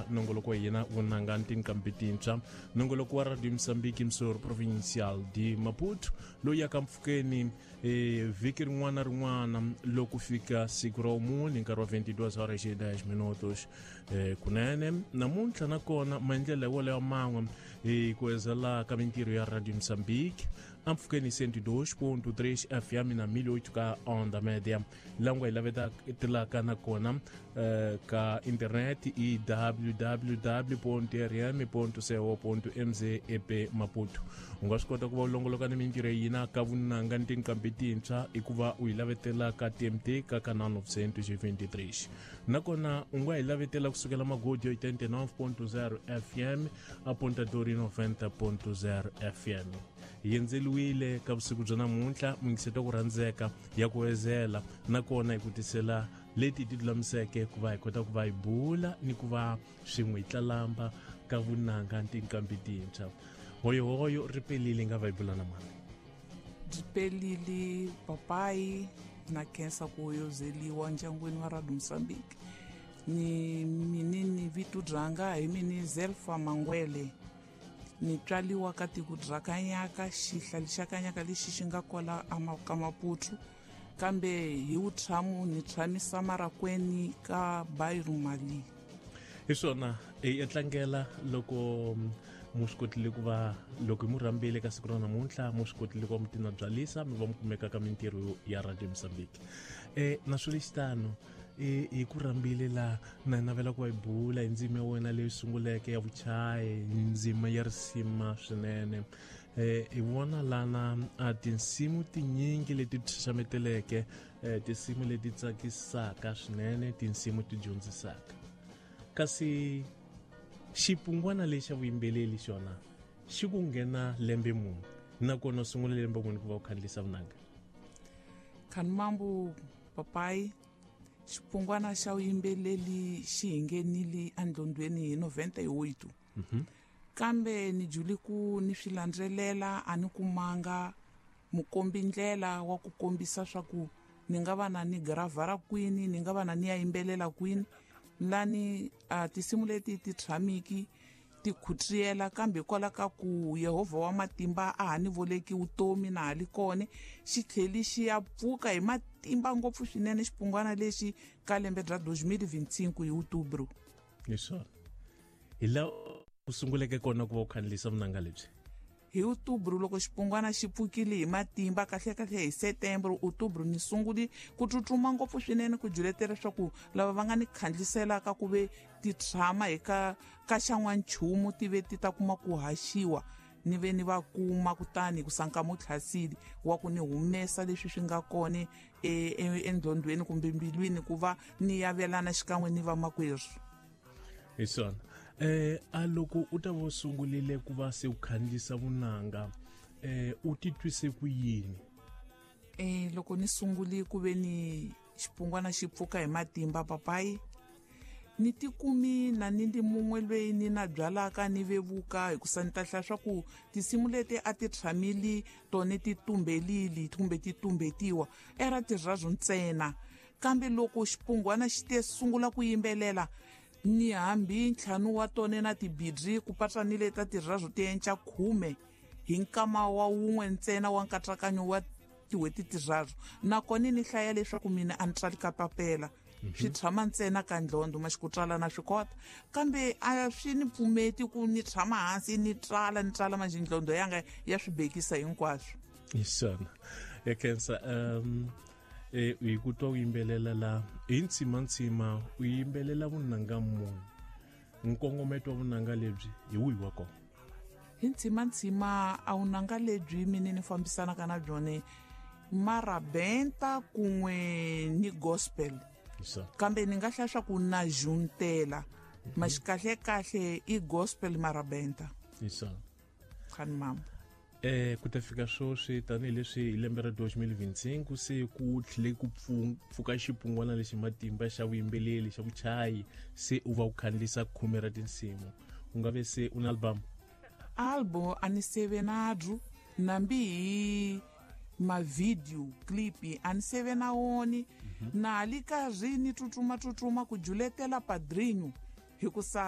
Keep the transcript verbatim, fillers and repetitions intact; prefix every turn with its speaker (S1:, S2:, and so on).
S1: Nongoloko wa hina vunanga ni tinqambi tintshwa, nongoloko wa Radio Mozambique Msor Provincial de Maputo, loyi yaka mpfhukeni e vhiki rin'wana na rin'wana loko fika siku ra vumune nkarhi wa vinte e duas horas e dez minutos. eh, kunene namuntlha nakona maendlelo wolayo man'we hi ku ezela ka mintirho ya Radio Mozambique ampfhukeni cento e dois ponto três F M na mil e oito ka onda média, langu hi lavetelaka nakona eh, ka internet i w w w r m co m z ep Maputo. U nga swi kota ku va u longoloka ni mintirho ya hina ka vunanga ni tinqambi tintshwa i ku va u yi lavetela ka T M T ka canal novecentos e vinte e três, nakona u nga hi lavetela kusukela Magodi oitenta e nove ponto zero F M a Ponta Dori noventa ponto zero F M. Hi endzeliwile ka vusiku bya namuntlha muyingiseti ku rhandzeka ya ku ezela, nakona hi ku tisela leti ti lulamiseke ku va hi kota ku va hi bula ni ku va swin'we hi tlalamba ka vunanga ni tinqambi tintshwa. Hoyohoyo ri pelile nga va hi bula na mani?
S2: Byi pelile papayi, na khensa ku hoyozeliwa ndyangwini wa Radio Mozambique. Ni minini vito byanga hi mini Zelfa Mangwele, ni tswaliwa ka tiko bya Kanyaka, xihlali xa Kanyaka lexi xi nga kwala ka Maputo, kambe hi wutshamu ni tshamisa Marakweni ka Bairro Mali.
S1: Hi swona, hi tlangela loko mu swi kotile ku va loko hi mu rhambile ka siku ra namuntlha, mu swi kotile ku va mu tina byalisa mi va mu kumeka ka mintirho ya Radio Mozambique. um naswo lexitano hi ku rhambile la na navela ku va hi bula hi ndzimi ya wena leyi sunguleke ya vuchayi, ndzima ya risima swinene. um hi vona lana a tinsimu tinyingi leti ti xaxameteleke, um tinsimu leti tsakisaka swinene, tinsimu ti dyondzisaka, kasi xipungwana lexi xa vuyimbeleri xona xi ku nghena lembe muni, nakona u sungule lembe muni ku va u khandziyisa vunanga?
S2: Khanimambu papayi, xipungwana xa vuyimbeleri xi hi nghenile endlondweni hi noventa e oito, kambe ni juli ku ni swi landzelela a ni kumanga mukombi ndlela wa ku kombisa swa ku ni nga va na ni gravhara kwini, ni nga va na ni ya yimbelela kwini lani. A tinsimu leti ti tshamiki ti khutriyela, kambe hikwalaho ka ku Yehovha wa matimba a ha ni voleki vutomi na ha li kona, xi tlheli xi ya pfuka hi matimba ngopfu swinene xipungwana lexi ka lembe bya dos mil e vinte e cinco hi outubro.
S1: Hi swona, hi laha u sunguleke kona ku va u khandziyisa vunanga lebyi?
S2: Hi outubro, loko xipungwana xi pfukile hi matimba, kahlekahle hi setembro, outubro ni sunguli ku tsutsuma ngopfu swinene ku juletela leswaku lava va nga ni khandliselaka ku ve ti tshama hi ka ka xan'wanchumu ti ve ti ta kuma ku haxiwa, ni ve ni va kuma kutani ku sanka mutlhasili wa ku ni humesa leswi swi nga kona endlondweni kumbe mbilwini ku va ni yavelana xikan'we ni vamakwerhu.
S1: Hi swona, eh a loko u ta va u sungurile ku va se u khandziyisa vunanga, eh u titwise ku yini?
S2: eh loko ni sunguli ku ve ni xipungwana xi pfuka hi matimba papayi, ni tikumi na ni ndi mun'we lweyi ni na byalaka ni vevuka, hikusa ni ta hlaya swa ku tinsimu leti a ti tshamili tone ti tumbelili kumbe ti tumbetiwa era tirhazu ntsena, kambe loko xipungwana xi te sungula ku yimbelela, ni hambi ntlhanu wa tone na tibidri ku patsa ni leta tirhazu ti enca khume hi nkama wa wun'we ntsena wa nkatsakanyo wa tin'hweti tirharu. Nakona ni hlaya leswaku mina a ni tsali ka papela, swi tshama ntsena ka ndlhondo maxi ku tsala na swi kota, kambe a swi ni pfumeti ku ni tshama hansi ni tsala ni tsala manjhe ndlhondo yanga ya swi bekisa hinkwaswo.
S1: Hi swona, ya khensa. um eh hi ku twa u yimbelela la hi ntsimantsima, u yimbelela vunanga muni? Nkongometo wa vunanga lebyi hi wihi wa kona?
S2: Hi ntsimantsima a vunanga lebyi mine ni fambisanaka na byone marabenta kun'we ni gospel.
S1: Hi swona.
S2: Kambe ni nga hlaya swa ku na juntela maxi kahle-kahle i gospel marabenta.
S1: Hi swona.
S2: Khani mama.
S1: eh ku ta fika sweswi, tanihileswi hi lembe ra dos mil e vinte e cinco se ku tlhele ku pfuka xipungwana lexi matimba xa vuyimbeleri xa vuchayi, se u va u khandziyisa khume ra tinsimu, u nga ve se u na album?
S2: Album a ni seve nabyo, nambi hi mavideo clip a ni seve na woni. Na ha li karhi ni tsutsuma tsutsuma ku juletela padrinho hikusa